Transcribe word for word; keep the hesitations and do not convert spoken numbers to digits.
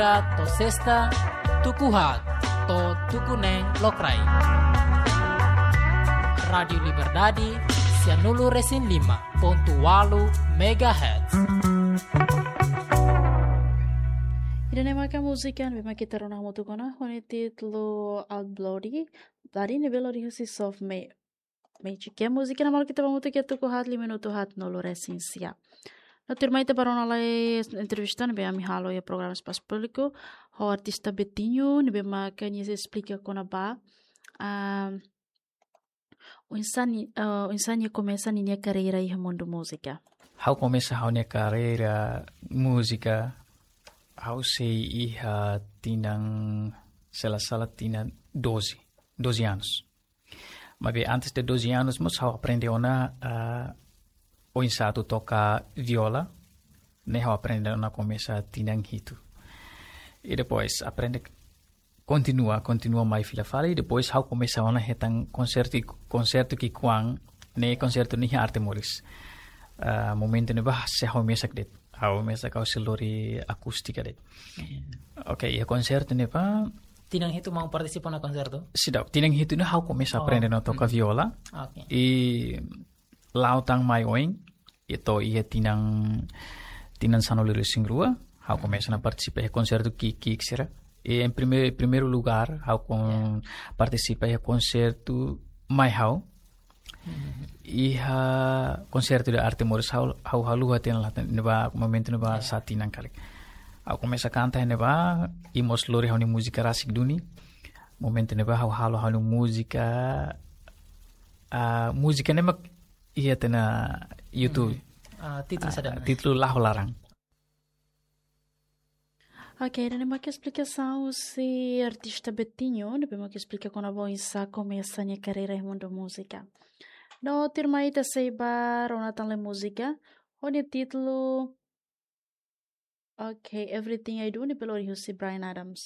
To'o sesta, tuku haat to'o tuku neen lokraik. Rádiu Liberdade, sia nulu resin lima pontu ualu megahertz. Ida-ne'e maka múzika ne'ebé mak ita rona hamutuk ona, ho nia títulu Out Bloody, Bloody ne'ebé lori husi Soft Ma-, Magic. Iha múzika ne'e mak ita bá hamutuk iha tuku haat, liu minutu haat nulu resin sia. No tuirmai ita bá rona lai entrevista ne'ebé ami halo iha programa Espasu Públiku, ho artista Betinho, ne'ebé mak nia sei esplika kona-ba, ah, oinsá ni-, ah, oinsá nia komesa ninia karreira iha mundu múzika. Ha'u komesa ha'u-nia karreira múzika, ha'u sei iha tinan, se la sala tinan doze, doze anos. Maibé antes de doze anos, mós ha'u aprende ona, ah, oinsá atu toka viola, ne'e ha'u aprende ona komesa tinan hitu. I depois aprende, kontinua, kontinua mai fila fali, i depois ha'u komesa ona hetan konsertu, konsertu ki'ikoan, ne'e konsertu ne'e iha Arte Moris. Ah, momentu ne'ebá sei ha'u mesak de'it. Ha'u mesak, ha'u sei lori akústika de'it. Oke, iha konsertu ne'ebá. Tinan hitu maun partisipa ona konsertu? Seidauk, tinan hitu ne'e ha'u komesa Oh. aprende ona toka viola. Oke. I la'o tan mai oin, i to'o iha tinan, tinan sanulu-resin-rua, ha'u komesa ona partisipa iha konsertu ki'ik-ki'ik sira. I em prime-, primeiru lugár, ha'u kon-, Ya. partisipa iha konsertu mai ha'u. Iha konsertu de Arte Moris ha'u, ha'u haluha tiha ona, ne'ebá momentu ne'ebá Ya. sá tinan karik. Ha'u komesa kanta ne'ebá, i mós lori ha'u-nia múzika rasik duni. Momentu ne'ebá ha'u halo ha'u-nia múzika, ah, múzika ne'e mak iha tiha ona YouTube. Ah, títulu Ah, saida ona? títulu Laho Laran. Oke, ida-ne'e mak esplikasaun husi artista Betinho, ne'ebé mak esplika kona-ba oinsá komesa nia karreira iha mundu múzika. No tuirmai ita sei bá rona tan lai múzika, ho nia títulu, oke, Everything I Do, ne'ebé lori husi Bryan Adams.